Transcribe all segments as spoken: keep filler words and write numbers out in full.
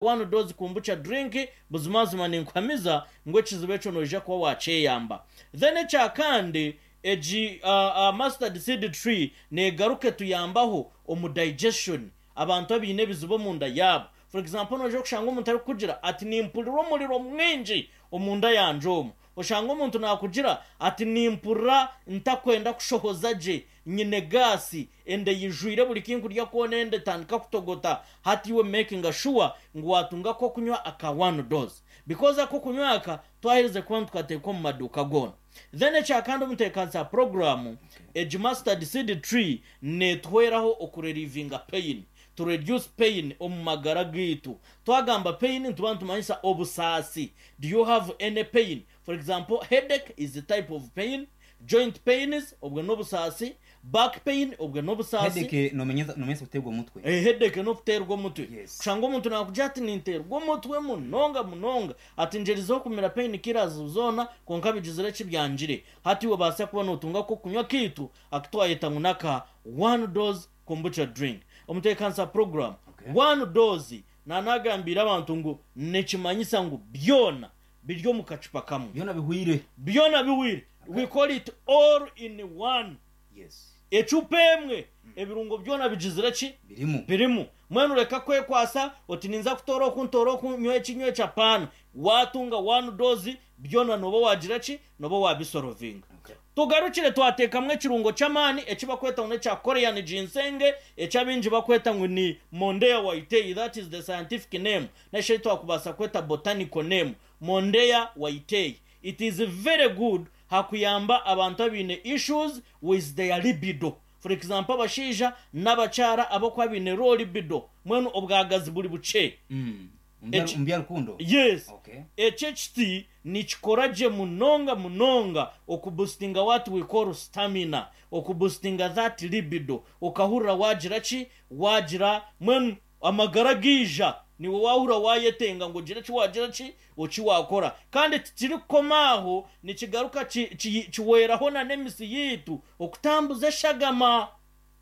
One Dose Kombucha drink. Buzimazima ninkuhamiza ngu ekizibu ekyo noija kuba wakyeyamba. Then ekyakandi, egi uh, uh, mustard seed tree negaruka etuyambaho omu digestion. Abantu abaine ebizibu omunda yaabo, for example, noija kushanga omuntu arikukugira ati, "Nimpurira omuriro mwingi omunda yangye." Omu oshanga omuntu nakugira ati, "Nimpurira ntakwenda kushohoza gye, nyine gaasi, ende yijwire, buri kinkurya kwona ende etandika kutogota." Hati iwe making sure ngu watunga akokunywa aka One Dose, because akokunywa aka twaherize kuba nitukateeka omu maduuka goona. Then ekyakandi, omuteekanisa program, egi mustard seed tree netuhweraho okurelievinga pain, to reduce pain omu magara gaitu. Twagamba pain, nituba nitumanyisa obusaasi. Do you have any pain? For example, headache is a type of pain, joint pains, obwo n'obusaasi, back pain, obwo n'obusaasi. Headache nomenyeza nomenyeza kutegwa omutwe. Eh, headache n'okuteerwa omutwe. Yes. Kushanga omuntu nakugira ati, "Ninteerwa omutwe munonga munonga," ati, "Ngyerizeho kumira pain killers zoona, konka bigizire kibyangire." Hati iwe baasa kuba notunga ko kunywa kiitu akitwayeta ngu naka One Dose Kombucha drink. Omuteekanisa program, Okay. One Dose nanagambira abantu ngu nikimanyisa ngu byona biri omu kacupa kamwe. Byona bihwire. Byona biwire. We call it all in one. Yes ecupa emwe, ebirungo byona bigizire ki? Birimu. Birimu. Mwenu reka kwekwasa oti, "Ninza kutora oku, ntora oku, nywa eki, nywa eki." Apaana, watunga One Dose, byona noba wagira ki? Noba wabisorovinga. Okay. Tugarukire, twateekamu ekirungo ky'amaani ekibakweta ngu nekya Korean ginseng, ekyabingi bakweta ngu ni Mondia whitei. That is the scientific name, neshe twakubaasa kweta botanical name, Mondia whitei. It is very good hakuyamba abantu abaine issues with their libido. For example, abashaija n'abakyara abakuba baine low libido, mwenu obwagazi buri bukye. Mm. Eki- Omu bya rukundo. Yes. Okay. Ekyo ekiti nikikora gye munonga munonga okuboostinga what we call stamina, okuboostinga that libido, okahurira wagira ki? Wagira mwenu amagara giija, niwe wahurira wayetenga ngu ogire ki? Wagira ki? Oki wakora. Kandi tikirikukoma aho, nikigaruka ki- ki- kiweraho na n'emisi yiitu okutambuza eshagama.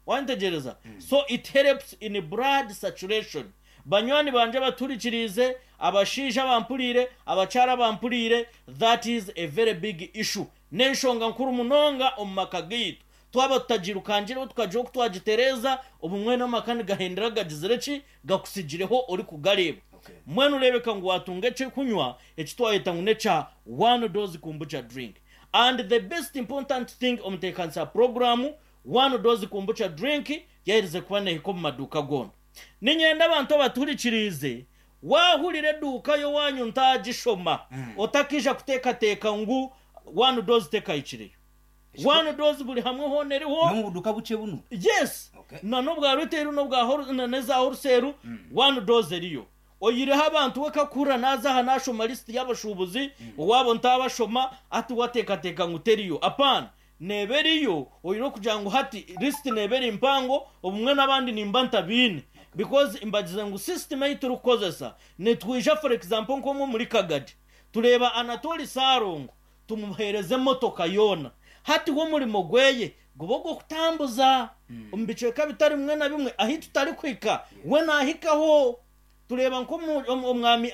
Wantegereza? So it helps in blood saturation. Banywani banje baturikirize, abashaija bampuriire, abakyara bampuriire, that is a very big issue, n'enshonga nkuru munonga omu maka gaitu. Twaba tutagirukangireho, tukagira oku twagitereza, obumwe n'amaka nigahendera gagizire ki? Gakusigireho ori kugareeba. Okay. Mwenu urebeka ngu watunga ekyokunywa ekitwayeta ngu nekya One Dose Kombucha drink. And the best important thing, omuteekanisa programu, One Dose Kombucha drink yaherize kuba nehika omu maduuka goona. Ninyenda abantu abaturikiriize, wahurira eduuka yowanyu ntagishoma, Mm. otakija kuteekateeka ngu One Dose tekahikireyo. One Dose buri hamwe hoona eriho. No mu buduka buke buno. Yes. Okay. Na n'obwa retail, n'obwa whole- na n'eza wholesale, One Dose eriyo. Oyireho abantu we kakura naza aha nashoma lisiti y'abashubuzi owabo ntabashoma, ati wateekateeka ngu teriyo. Apana, neba eriyo. Oyine kugira ngu hati lisiti neba eri mpango, obumwe n'abandi nimba ntabiine, because mbagize ngu system eyi turikukozesa nitwija, for example, nk'omwe muri Kagadi, tureba Anatoli Sarongo, tumuhereze emotoka yoona. Hati w'omurimo gweye guba ogw'okutambuza omu bicweka bitari bimwe na bimwe ahi tutari kuhika, we nahikaho. Tureba nk'omwami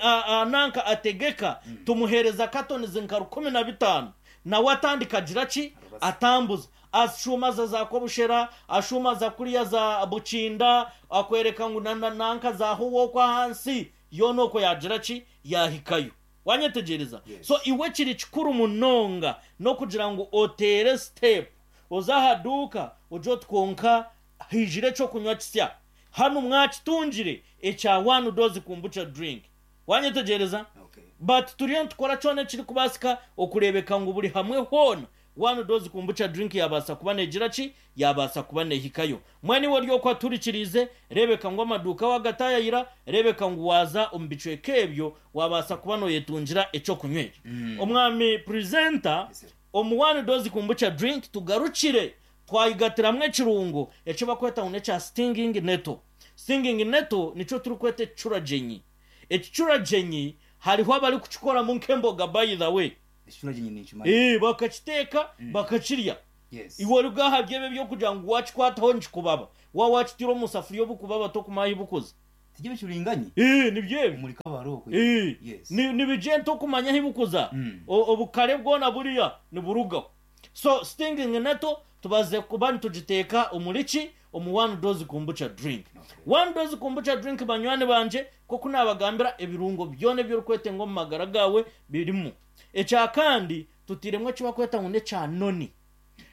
nanka ategeka, tumuhereza katonizi nka rukumi na bitaano, nawe atandika agira ki? Atambuza, ashumaza za Kobushera, ashumaza kuriya za Bukinda, akwereka ngu na- na- nanka zaho wokwo ahansi yoona okwo yagira ki? Yahikayo. Wanyetegereza? Yes. So iwe kiri kikuru munonga n'okugira ngu otere step, oze aha duuka ugye oti, "Konka hijire ekyokunywa kisya hano mwakitungire ekya One Dose Kombucha drink." Wanyetegereza? Okay. But turiyo nitukora kyona ekiri kubaasika okureebeka ngu buri hamwe hoona One Dose Kombucha drink yabaasa kuba negira ki? Yabaasa kuba nehikayo. Mwene iwe ori aturikiriize, reebeka ngu amaduuka wagatayayira, reebeka ngu waza omu bicweka ebyo, wabaasa kuba noyetungira ekyokunywa ekyo. Omwami presenter, Yes, sir. omu One Dose Kombucha drink tugarukire twayigatiramu ekirungo eki bakweta ngu nekya stinging nettle. Stinging nettle nikyo turikweta ekicuragyenyi. Ekicuragyenyi hariho abari kukikoramu nk'emboga, by the way. Ekicuragyenyi nikimanyi. Eh, bakakiteeka bakakirya. Yes. Iwe ori bwaha byebe byokugira ngu wakikwataho nikikubaba, wa wakitira omu safuriya obukubaba, tokumahi bukuze. Tijye bicuringanye Eh, nibyo ebyo. Omuri Kabaroko. Eh, Yes. ni- nibigye okumanya ahi bukuza. Mm. O- obukare bwona buriya niburugaho. So stinging nettle tubaze kuba nitugiteeka omuri ki, omu One Dose Kombucha drink. Okay. One Dose Kombucha drink, banywani banje, koko nabagambira ebirungo byona eby'orikwetenga omu magara gawe birimu. Ekya kandi tutiremu ekibakweta ngu nekya noni.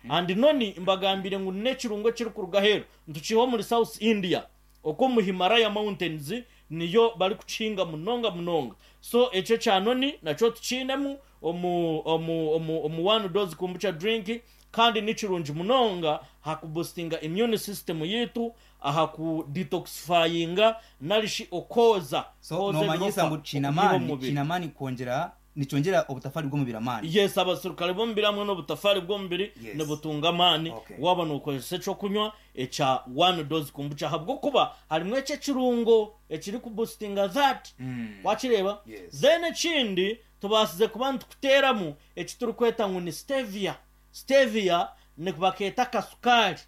And noni mbagambire ngu nekirungo ekirikuruga heru, ntukiiha omuri South India, okwo mu Himalaya Mountains niyo bari kukihinga munonga munonga. So ekyo kya noni nakyo tukiinemu omu omu omu omu One Dose Kombucha drink, kandi ni kirungi munonga aha kuboostinga immune system yitu, aha kudetoxifyinga narishi okwoza So kwoza nomanyisa ebirofa ngu kiine okubiha amaani. omubiri. Kiine amaani kwongera, nikyongera obutafari bw'omubiri amaani. Yes, abasirikare b'omubiri hamwe n'obutafari bw'omubiri Yes. nibutunga amaani Okay. waba nokozesa ekyokunywa ekya One Dose Kombucha, ahabwokuba harimu ekyo ekirungo ekiri kuboostinga that. Mm. Wakireeba? Yes. Then ekindi tubaasize kuba nitukuteeramu eki turikweta ngu ni stevia. Stevia ni bakeeta akasukaari.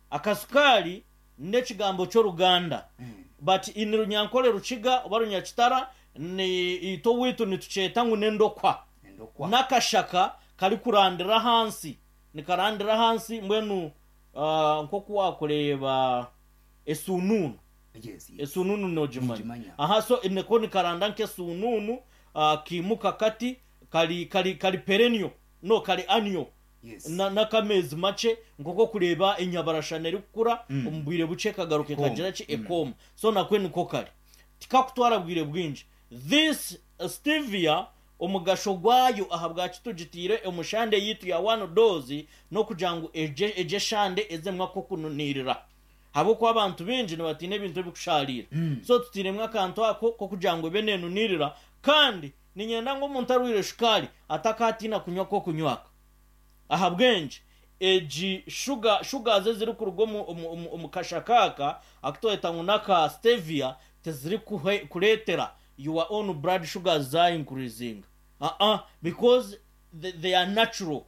Akasukaari n'ekigambo ky'Oruganda, Mm. but in Runyankole, Rukiga oba Runyakitara, ni ito witu nitukyeta ngu n'endokwa. Endokwa. N'akashaka kari kurandira hansi, nikarandira hansi. Mbwenu uh, nk'oku wakureeba esununu. yes, yes. Esununu nogimanya? Nogimanya. Aha, so niko nikaranda nk'esununu, uh, kimuka kati kari kari kari perennial, no kari annual. Yes. Na- n'akamezi make, nk'oku kureba enyabarashana eri kukura Mm. omu bwire buke kagaruka Ekoma. ekagira ki, ekoma. So nakwe niko kari, tikakutwara bwire bwingi. This uh, stevia, omugasho gwayo aha bwaki tugitiire omushande yitu ya One Dose, n'okugira ngu eje eje shande ezemwe akokununirira, habwokuba abantu bingi nibatiina ebintu ebikusharira. Mm. So tutiremu akantu ako kokugira ngu ebe nenunirira. Kandi ninyenda ngu omuntu arwire shukaari atakatiina kunywa ko kunywaka ahabwengi egi shuga sugars eziri kuruga omu, omu, omu, omu kashakaka akutweta ngu n'aka stevia teziri kuhe- kureetera your own blood sugars za increasing, uh -uh, because they, they are natural.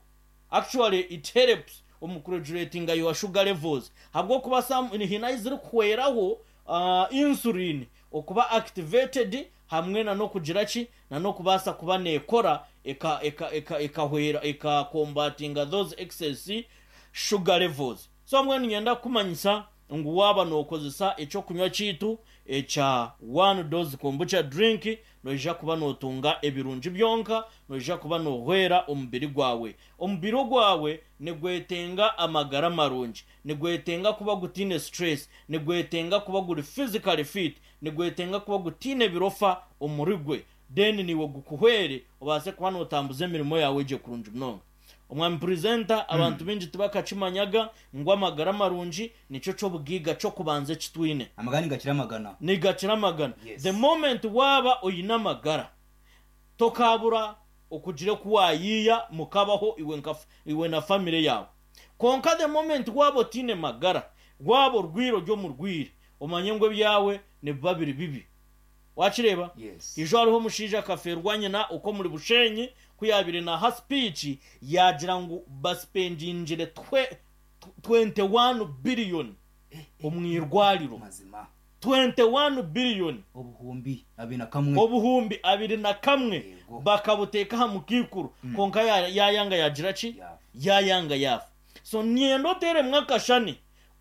Actually it helps omu kuregulatinga your sugar levels, habwokuba some hina eziri kuhweraho uh, insulin okuba activated hamwe na nokugira ki, na nokubaasa kuba nekora eka eka eka ekahwera ekakombatinga those excess sugar levels. So mbwenu nyenda kumanyisa ngu waaba nokozesa ekyokunywa kiitu ekya One Dose Kombucha drink, noija kuba notunga ebirungi byonka, noija kuba nohwera omubiri gwawe. Omubiri gwawe nigwetenga amagara marungi, nigwetenga kuba gutiine stress, nigwetenga kuba guri physically fit, nigwetenga kuba gutiine birofa omuri gwe. Then niwe gukuhwere obaase kuba notambuza emirimo yawe gye kurungi munonga. Omwami presenter, abantu bingi tibakakimanyaga ngu amagara marungi nicyo ky'obugiga ky'okubanza ekitwine. Amagara nigakira amagana. Nigakira amagana. Yes. The moment waaba oyine amagara, tokabura okugira ku wayiya mukabaho iwe nka iwe na family yawe. Konka the moment waba otine magara, waba orwire ori omurwire, omanye ngu ebyawe nibiba biri bibi. Wakireeba? Yes. Ijo hariho omushaija akaferwa nyina uko muri Bushenyi, ku yabire naha speech yagira ngu baspendingire twe twenty-one billion omu irwariro. Mazima. twenty-one billion. Obuhumbi abiri na kamwe. Obuhumbi abiri na kamwe. Yego. Bakabuteeka aha mukiikuru, konka ya- yayanga yagira ki? Yafa. Yayanga yafa. So nienda oteremwo akashani,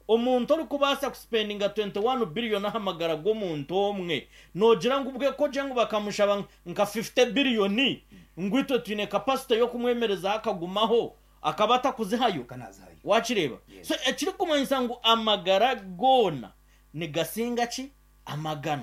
omuntu orikubaasa kuspendinga twenty-one billion aha magara g'omuntu omwe, nogira ngu ubwe koje ngu bakamushaba nka fifty billion, ngu itwe twine capacity y'okumwemerezaho akagumaho, akaba atakuzihayo? Kanazihayo. Wakireeba? Yes. So ekirikumanyisa ngu amagara goona nigasinga ki? Amagana.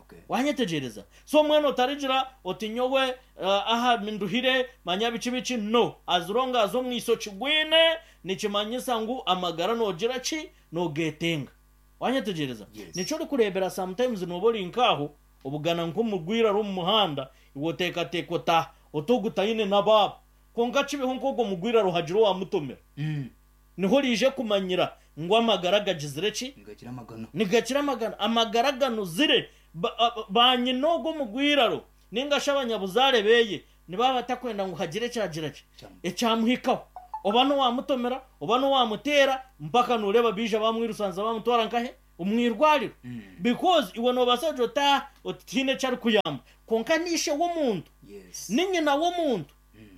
Okay. Wanyetegereza? So omwana otarigira oti nyowe uh, aha nduhire, manya biki biki. No, as long as omwiso kigwine, nikimanyisa ngu amagara nogira ki, nogetenga. Wanyetegereza? Yes. Nikyo orikurebera sometimes noba ori nkaho obugana nk'omugwira ari omu muhanda, iwe oteekateeka ota otogutaine n'abaabo, konka kibeho nk'ogwo mugwira ruhagira owamutomera, Mm. niho rije kumanyira ngu amagara gagizire ki? Nigakira amagana. Nigakira amagana. Amagara ganuzire. Ba- a- ba nyina ogwo mugwiraro ninga shi abanyabuzaare beye nibaba batakwenda ngu hagire ekyagira ki, Kyamu- ekyamuhikaho, oba nowamutomera oba nowamutera, mpaka nureba bija bamwirusanza bamutwara nkahe Omwirwariro, Mm. because iwe nobaasa kugira oti, "Ah, oti tihaine eki arikuyamba," konka niishe w'omuntu, Yes. ni nyina w'omuntu,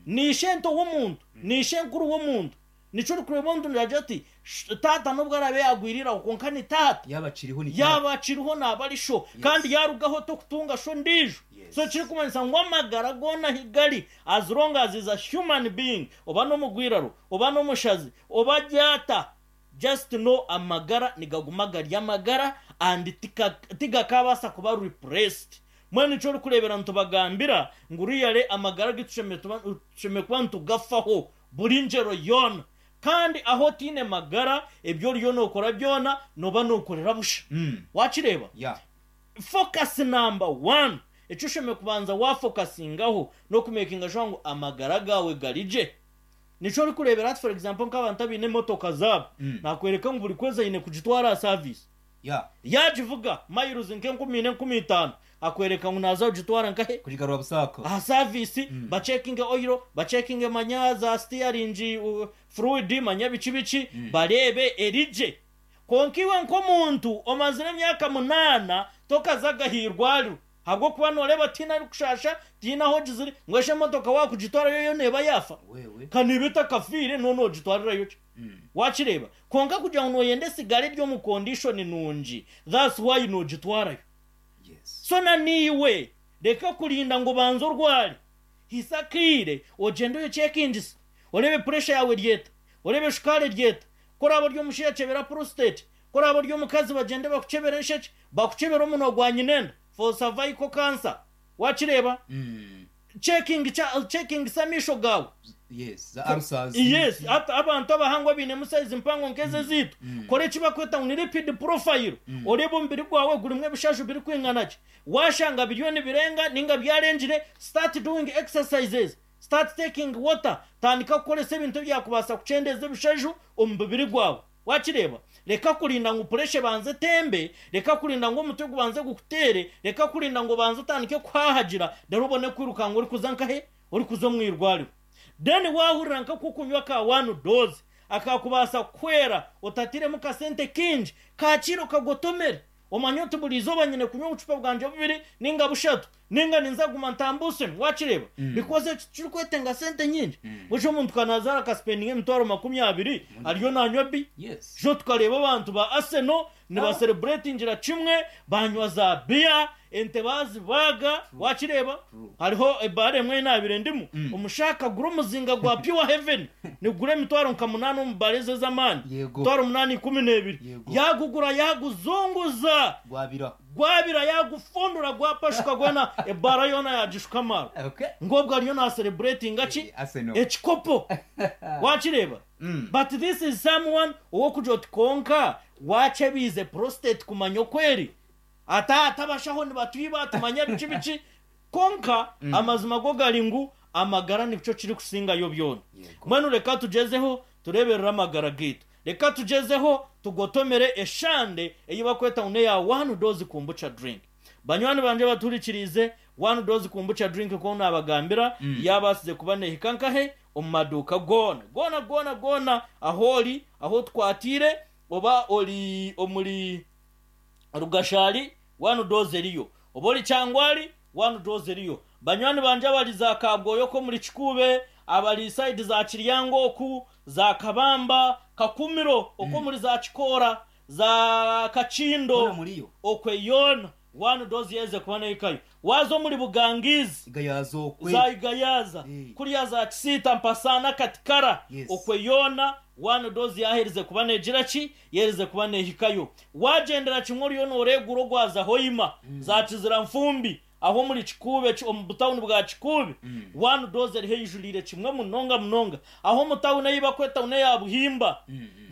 ni ishento w'omuntu, ni ishenkuru w'omuntu. Nikyo orikureba omuntu niragira ati, "Sh- taata nubwo arabe yagwiriraho, konka ni taata." Yaba akiriho ni Yaba akiriho naaba ari sho, kandi yarugaho tokutunga sho ndijo. Yes. So kirikumanyisa ngu amagara goona ahi gari, as long as is a human being, oba n'omugwiraro, oba n'omushazi, oba gyata, just know amagara nigaguma gari amagara and tika- tigakabaasa kuba replaced. Mwene nicyo orikurebera nitubagambira ngu riyare amagara gitu tushemere kuba nitugafaho buri ngero yoona, kandi aho tiine magara, ebyo oriyo nookora byona noba nookorera busha. Mm. Wakireba? Yeah. Focus number one ekyo oshemere kubanza wafokasingaho n'okumakinga sure ngu amagara gawe garije. Nikyo orikurebera ati, for example, nk'abantu abaine emotoka zaabo, Mm. nakwereka ngu buri kwezi aine kugitwara aha service. Yeah. Yagivuga miles nk'enkumi ine, enkumi itaano, akwereka ngu naza kugitwara nkahe? Kugigarura busako. Aha service, bacekinge oil, bacekinge manya za steering uh, fluid, manya biki biki, barebe erije. Konka iwe nk'omuntu omazire emyaka munaana tokazaga ahirwariro, habwokuba nooreba tiina arikushasha, tiina aho gizire, ngu esho emotoka wakugitwarayo yo neeba yafa. Wewe. Kaniba etakafiire, none ogitwarirayo ki? Mm. Wakireba? Konka kugira ngu noyenda esigara eri omu condition nungi, that's why nogitwarayo. Yes. So na niiwe reka kurinda ngu banze orware. Hisakiire ogyende oyekyekingisa, orebe pressure yawe ryeta, orebe shukaari ryeta, koraba ori omushaija chebera prostate, koraba ori omukazi bagende bakuchebera ensheke, bakuchebera omunwa gwa nyinenda for cervical cancer. Wakireba? Mm. Checking cha- checking amisho gawe. Yes, za ulcers. Yes, ata abantu abahangwa biinemu size mpango nk'eze ziitu, kora eki bakweta ngu ni lipid profile, orebe omubiri gwawe gurimu ebishaju birikwingana ki. Washanga biriyo nibirenga ninga byarengire, start doing exercises, start taking water, tandika kukoresa ebintu ebyakubaasa kukyendeza ebishaju omu mubiri gwawe. Wakireba? Reka kurinda ngu pressure banze tembe, reka kurinda ngu omutwe gubanze gukutere, reka kurinda ngu banze utandike kuhahagira, dore ubone kwiruka ngo uri kuza nkahe, uri kuza omu irwariro. Then wahurira nka kukunywa ka one dose akakubaasa kwera otatiremu kasente kingi, kakiro kagotomere, omanye oti buri izooba nyine kunywa obucupa bwanje bubiri ninga bushatu, ninga ninza guma ntambuse. Wakireba? Because eki kirikwetenga sente nyingi. Busha omuntu kanazaara akaspendinga emitwaro makumi abiri ariyo nanywa bi. Yes. Jo tukareba abantu ba Arsenal nibacelebratingira kimwe banywa za biya, ente bazibaga. Wakireba? True. Hariho ebara emwe nabire ndimu, omushaka gura omuzinga gwa Pure Heaven, nigura emitwaro nka munaana omu bare ezo ez'amaani. Yego. Mitwaro munaana, ikumi n'ebiri. Yego. Yagugura, yaguzunguza. Gwabira. Gwabira, yagufundura, gwapashuka gwena, ebara yona yagishuka amaro. Okay. Ngobwo ariyo nacelebratinga ki? Eh, Arsenal. Ekikopo. Wakireba? Mm. But this is someone owokugira oti konka wachebize prostate kumanya okweri, ata atabashaho nibatwiba, tumanya biki biki. Konka amazima go gari ngu amagara nikyo kiri kusingayo byona. Yego. Mbwenu reka tugezeho tureberere amagara gitu, reka tugezeho tugotomere eshande eyi bakweta ngu neya One Dose Kombucha drink. Banywani banje baturikirize, One Dose Kombucha drink ko nabagambira mm. yabasize kuba nehika nkahe? Omu maduuka goona goona goona goona, aho ori, aho twatire, oba ori omuri Rugashari, One Dose eriyo, oba ori Kyangwari, One Dose eriyo. Banywani banje abari za Kabwoyo ko muri Kikube, abari side za Kiryango, oku za Kabamba, Kakumiro, oko muri za Kikora, za Kakindo, Bona muriyo. Okwe yona One Dose yeze kuba nehikayo. Wazo muri Bugangizi, Igayazokwe. za Igayaza, Eh. kuriya za Kisita, Mpasana, Katikara, Yes. okwe yona One Dose yaherize kuba negira ki? Yerize kuba nehikayo. Wagendera kimwe oriyo noregura ogwaza Hoima, za Kizira Nfumbi, aho muri Kikube, ki- omu butawuni bwa Kikube, One Dose eriho eyijurire kimwe munonga munonga. Aho mu tawuni eyi bakweta tawuni ya Buhimba,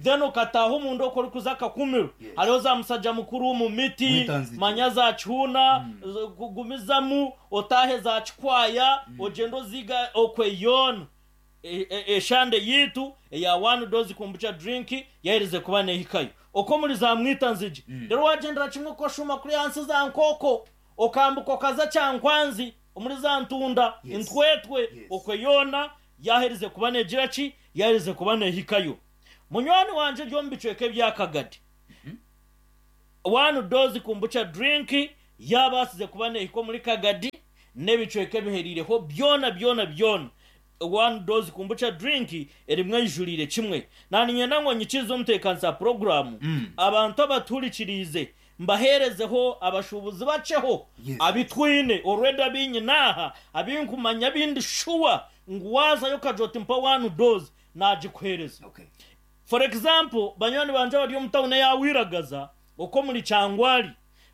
then ukataha omundu oko orikuza Kakumiro, Yes. hariho za musajja mukuru mu miti, Mwitanzige. manya za Kihuna, kugumizamu otahe za Kikwaya, ogende oziga, okwe yona E- e- eshande yitu eya One Dose Kombucha drink yaherize kuba nehikayo. Oko muri za Mwitanzige, rero wagendera kimwe ko shuma kuri hansi za Nkoko, okambuka okaza Kyankwanzi, omuri za Ntunda, Yes. Intwetwe, Yes. okwe yona yaherize kuba negira ki? Yaherize kuba nehikayo. Munywani wanje ryo mu bicweka ebyakagadi, One dose kombucha drink yabaasize kuba neehika omuri Kagadi n'ebicweka ebiheriireho byona byona byona. One dose kombucha drink erimwe eyijuriire kimwe. Naaniinyenda ngu nyikirize omuteekanisa puroguraamu, abantu abatuhurikiriize mbaheerezeho abashuubuzi bakyeho Yes. abitwine already, abinyine aha, abinkumanya, abindi sure ngu waazayo okagira oti, "Mpa one dose," nagikuheereza. Okay. For example, banywani banje bari omu tawuni eya Wiragaza, okwo muri Kyangwali,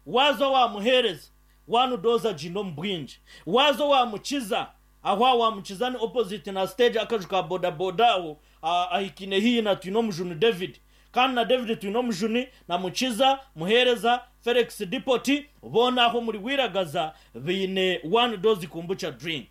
waaza wamuheereza one dose agiine omu bwingi. Waaza wamukiza aho, wamukiza ni opposite na stage, akaju ka bodaboda aho, ah, ahikine hihi na Twine Omujuni David. Kandi na David Twine Omujuni na Mukiza Muheereza Felix Dipoti, boona aho muri Wiragaza biine one dose kombucha drink.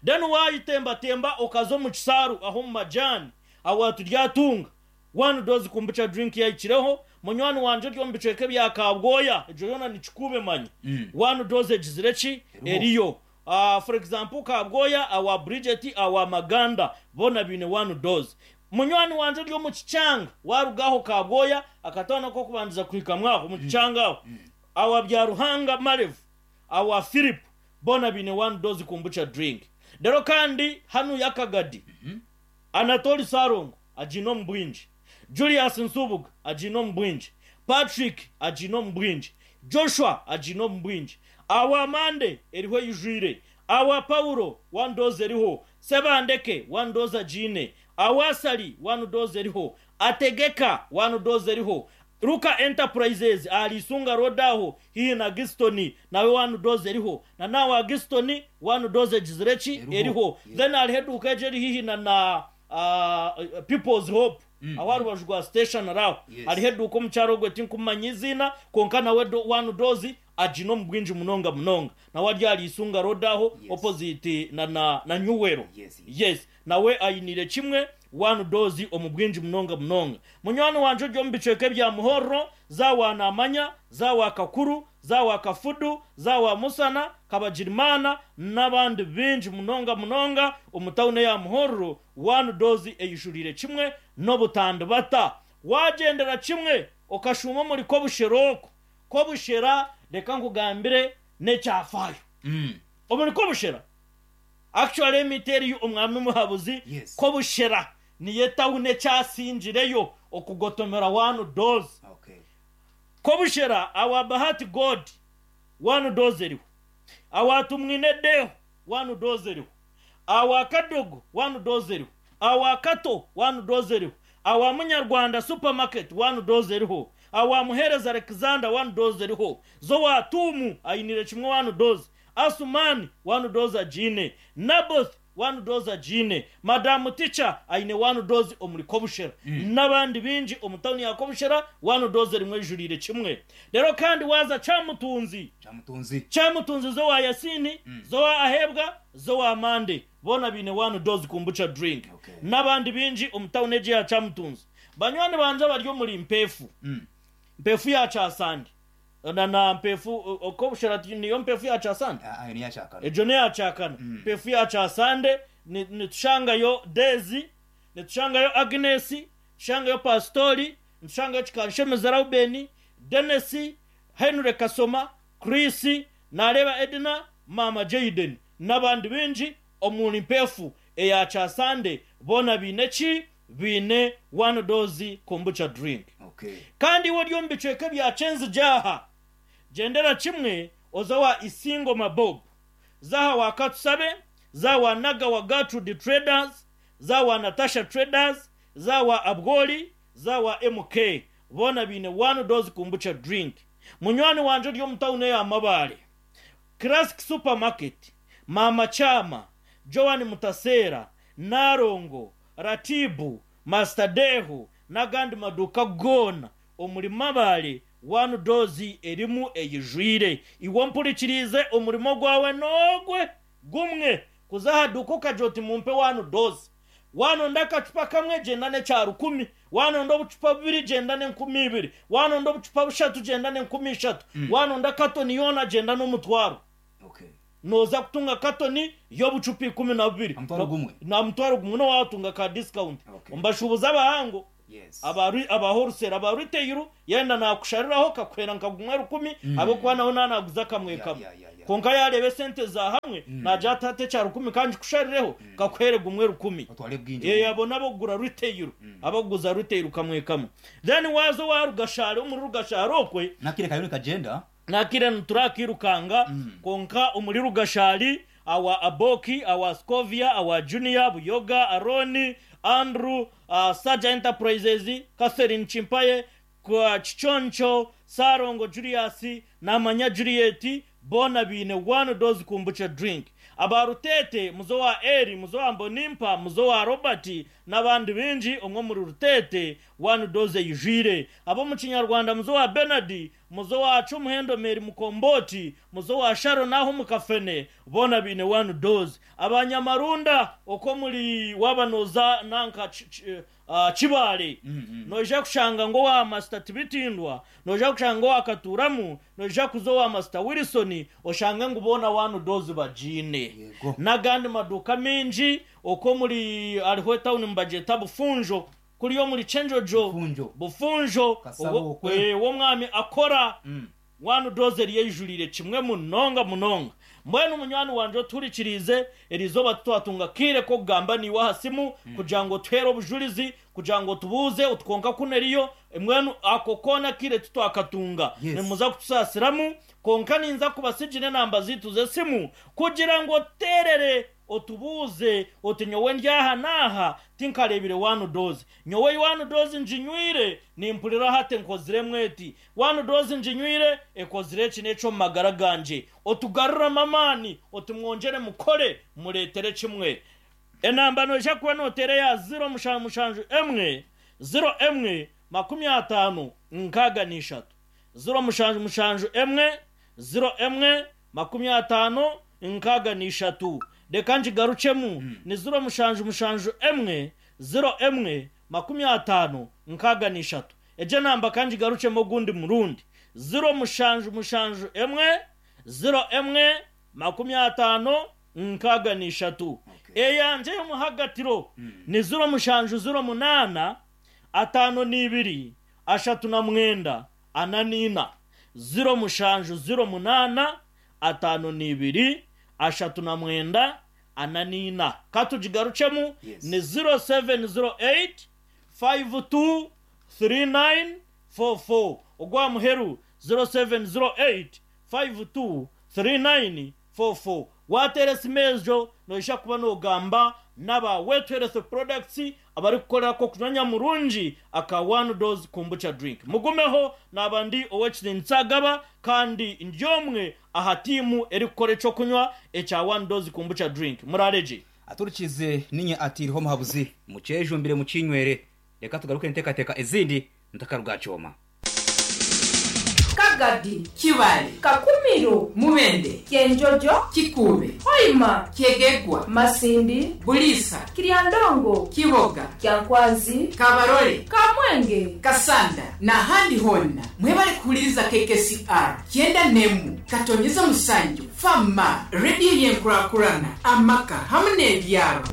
Then wayitembatemba okaza omu Kisaaru aho mu majani aho turyatunga one dose kombucha drink yahikireho. Munywani wanje ori omu bicweka ebya Kabwoya, egyo yoona nikikube manya one dose egizire ki? Eriho. Eriyo. uh, for example, Kabwoya awa Bridget, awa Maganda, bona biine one dose. Munywani wanje ori omu Kikyanga, warugaho Kabwoya akatoona kokubandiza kuhika mwaho mu Kikyanga aho awa Byaruhanga Marevu, awa Philip, bona biine one dose kombucha drink. Rero kandi hanu yakagadi, Anatoli Sarongo agiine omu bwingi, Julius Nsubuga agiine omu bwingi, Patrick agiine omu bwingi, Joshua agiine omu bwingi. Awa Mande eriho eyijwire, awa Paulo one dose eriho, Sebandeke one dose agiine, awa Sali one dose eriho, Ategeka one dose eriho, Luka Enterprises ahari Isunga Road aho hihi na Gistoni, nawe one dose eriho, na nawe Gistoni one dose egizire ki? Eriho. Eriho. Yeah. Then hariho eduuka egyo eri hihi na na uh, People's Hope aho rubaju rwa station aho. Yes. Hariho eduuka omukyaro ogwe tinkumanya iziina, konka nawe do- one dose agine omu bwingi munonga munonga. Nawe ari ahari Isunga Road aho, Yes. opposite na na na Nyuwero. Yes. Yes, nawe ayinire kimwe one dose omu bwingi munonga munonga. Munywani wanje ori omu bicweka ebya Muhorro, zawa Namanya, zawa Kakuru, zawa Kafudu, zawa Musana Kabagirimana n'abandi bingi munonga munonga omu tawuni ya Muhorro, one dose eyijurire kimwe n'obutandibata. Wagendera kimwe okashuma omuri Kobushera oko Kobushera, reka nkugambire n'ekyafaayo. Mm. Omuri Kobushera actually emiti eriyo omwami Muhabuzi. Yes. Kobushera niyo etawuni ekyasingireyo okugotomera one dose. Okay. Kobushera awa Bahati God one dose eriho, awa Tumwine Deho one dose eriho, awa Kadogo one dose eriho, awa Kato one dose eriho, awa Munyarwanda Supermarket one dose eriho, awa Muhereza Alexander one dose eriho, zo wa Tumu ayinire kimwe one dose, Asumani one dose agine, Naboth one dose agine, Madamu Ticha ayine one dose omuri Kobushera n'abandi bingi omu tawuni ya Kobushera, one dose rimwe ijurire kimwe. Rero kandi waza Cyamutunzi. Cyamutunzi. Cyamutunzi, zo wa Yasini, zo wa Ahebwa, zo wa Mande, bona bine one dose kombucha drink. Okay. N'abandi bingi omu tawuni egi ya Cyamutunzi. Banywani banje bari omuri Mpefu, Mm. Mpefu ya Kyasande na na Mpefu Okobushera niyo Mpefu ya Kyasande. Ah, ayo niyo cyakana. Egyo niyo yakyakana. Mpefu ya Kyasande ni- nitushangayo Dezi, nitushangayo Agnes, tushangayo Pastori, nitushangayo Kikanshemeza Raubeni, Denesi, Henry Kasoma, Chris nareba, Edna, Mama Jaden n'abandi bingi omuri Mpefu eya Kyasande, bona biine ki? Biine one dose kombucha drink. Okay. Kandi iwe ori omu bicweka bya Kyenzijaha, gendera kimwe oza wa Isingo Mabob, zaha wa Katusabe, za wa Naga wa Gertrude Traders, za wa Natasha Traders, za wa Abgoli, za wa M K, bona biine one dose kombucha drink. Munywani wanje ori omu tawuni ya Mabare, Classic Supermarket, Mama Chama, Joan Mutasera, Narongo, Ratibu, Master Dehu n'agandi maduka gona omuri Mabare, one dose erimu eyijwire. Iwe mpurikirize, omurimo gwawe nogwe gumwe kuza ahaduka ukagira uti, "Mumpe one dose." Wanonda akacupa kamwe, genda n'ekya rukumi. Wanonda obucupa bubiri, genda n'enkumi ibiri. Wanonda obucupa bushatu, genda n'enkumi ishatu. Wanonda katoni yoona, genda n'omutwaro. Okay. Noza kutunga katoni y'obucupa ikumi na bubiri. Omutwaro gumwe? Na mutwaro gumwe, nowatunga ka discount. Okay. Mbashubuza abahango. Yes. Aba aba wholesale, aba retail yenda nakushariraho kakwera nka gumwe rukumi, abo kuba naho nanaguza kamwe Yeah, kamwe. yeah, yeah, yeah. Konka yareba sente za hamwe naja atate cya rukumi kandi kusharireho kakwere gumwe rukumi. Otwale bwingi. Ye abo nabo gura retail, abaguza retail kamwe kamwe. Then wazo wa Rugashari, omuri Rugashari okwe Nakire kayoni kagenda. Nakire nturakirukanga, konka omuri Rugashari awa Aboki, awa Scovia, awa Junior Buyoga, Aroni, Andrew, uh, Saja Enterprises, Catherine Chimpaye kwa Chichoncho, Sarongo Julius Namanya, Juliet, bona bine one dose kombucha drink. Abarutete, muzo wa Eri, muzo wa Mbonimpa, muzo wa Robert n'abandi bingi umwe muri Rutete, one dose yijire. Abo mu Kinyarwanda, muzo wa Bernard, muzo wa Cumuhendo, Meri Mukomboti, muzo wa Sharo naho mukafene, bona bine one dose. Abanyamarunda uko muri wabanoza nanka ch- ch- uh, Kibale, noja kushanga ngo wa Master Tibitindwa, noja kushanga ngo wakaturamu, noja kuzo wa Master Wilson, oshange ngo ubona one dose bajine. Yego. N'agandi maduka menshi uko muri ariho town mbajeta Bufunjo, kuri yo muri Chenjojo. Bufunjo. Bufunjo. Kasabo uwo- okwe. eh, uwo mwami akora Mm. one dose yejurire kimwe munonga munonga. Mbwenu munywani wanje oturikirize erizoba twatunga kire ko kugamba niwe aha simu kugira ngo tuhere obujulizi, kugira ngo tubuze utwonka kuneriyo mbwenu ako kona kire tutwakatunga. Yes. Nimuza kutusasiramu, konka ninza kubasigire enamba zitu z'esimu kugira ngo terere otubuze oti nyowe ndyaha naha tinkarebire one dose, nyowe one dose njinywire nimpurira hate nkozire mweti, one dose njinywire ekozire eki n'ekyo mu magara ganje, otugaruramo amaani, otumwongere mukore muretere kimwe. Enamba noja kuba notere ya ziro mushanju mushanju emwe ziro emwe makumi atano nkaga n'ishatu, ziro mushanju mushanju emwe ziro emwe makumi atano nkaga n'ishatu. Reka njigarucemu, ni ziro mushanju mushanju emwe ziro emwe makumi atano nkaga n'ishatu. Ejo namba kandi igarucemo gundi murundi, ziro mushanju mushanju emwe ziro emwe makumi atano nkaga n'ishatu. Okay. Eyanje y'omuhagatiro ni ziro mushanju ziro munana atano n'ibiri ashatu na mwenda ana n'ina, ziro mushanju ziro munana atano n'ibiri ashatu na mwenda ana n'ina. Katugigarucemu. Yes. Ni ziro seven ziro eight five two three nine four four. Ogwa muheru ziro seven ziro eight five two three nine four four. Watere simejo noisha kuba nogamba n'aba Wetu Health Products abari kukorera ko kunyanya murungi aka one dose kombucha drink. Mugumeho naba ndi owekiri nsagaba kandi ndyomwe aha timu eri kukora ekyo kunywa ekya one dose kombucha drink. Murareje. Aturikize ninye atiriho muhabuzi mucejumbire mucinywere. Reka tugaruke ntekateka ezindi ntakarugacoma. Kagadi, Kibale, Kakumiro, Mubende, Kyenjojo, Kikube, Hoima, Kyegegwa, Masindi, Bulisa, Kiryandongo, Kiboga, Kyankwanzi, Kabarole, Kamwenge, Kasanda n'ahandi honna mwebale kuhuliriza K K C R kyenda nemu katonyeza musanju fama rediyo yenkurakurana amaka hamwe n'ebyaro.